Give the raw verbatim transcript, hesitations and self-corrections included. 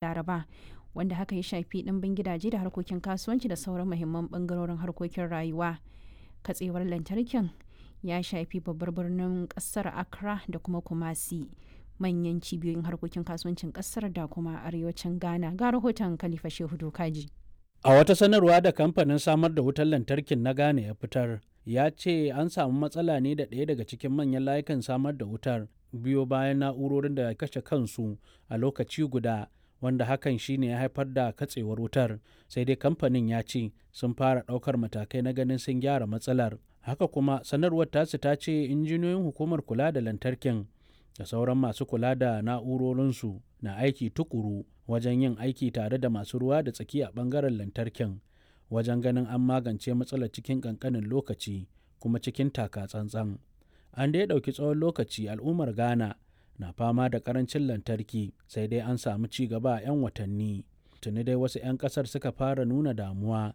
Laraba, wanda haka ya shafi ɗimbin gidaje da harkokin kasuwanci da sauran muhimman ɓangarorin harkokin rayuwa. Katsewar lantarkin ya shafi babbar birnin ƙasar Accra da kuma Kumasi, manyan cibiyoyin harkokin kasuwancin ƙasar da kuma arewacin Ghana. Ga rahoton Khalifa Shehu Dokaji. A wata sanarwa da kamfanin samar da wutar lantarkin na Ghana ya fitar, ya ce an samu matsala ne da ɗaya daga cikin manyan layukan samar da wutar biyo bayan na'urorin da kashe kansu a lokaci guda wanda hakan shine ya haifar da katsewar wutar. Sai dai kamfanin ya ce sun fara ɗaukar matakai na ganin sun gyara matsalar. Haka kuma sanarwar tasu ta ce injiniyoyin hukumar kula da lantarkin da sauran masu kula da na'urorinsu na aiki tukuru wajen yin aiki tare da masu ruwa da tsaki a bangaren lantarkin wajen ganin an magance matsalar cikin kankanin lokaci kuma cikin taka tsantsan. An dai ɗauki tsawon lokaci al'ummar Ghana na fama da karancin lantarki sai dai an samu ci gaba a 'yan watanni. Tuni dai wasu 'yan ƙasar suka fara nuna damuwa